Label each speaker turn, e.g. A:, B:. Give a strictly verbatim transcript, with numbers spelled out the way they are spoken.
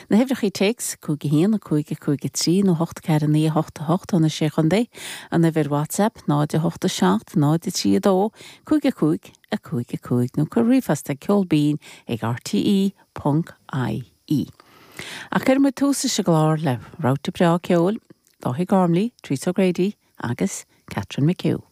A: Na huimhreacha téacs cúig a haon a cúig a cúig a trí nó hocht ceathair naoi hocht a hocht ó na sé chontae, an uimhir WhatsApp náid a hocht a seacht náid a trí a dó cúig a cúig a cúig a cúig nó cuir ríomhphost ag ceol binn ag RTE ponc IE. Ach cuirfidh muid tús leis an gclár le rabhta breá ceoil, Dáithí Gormley, Teresa O'Grady agus Catherine McHugh.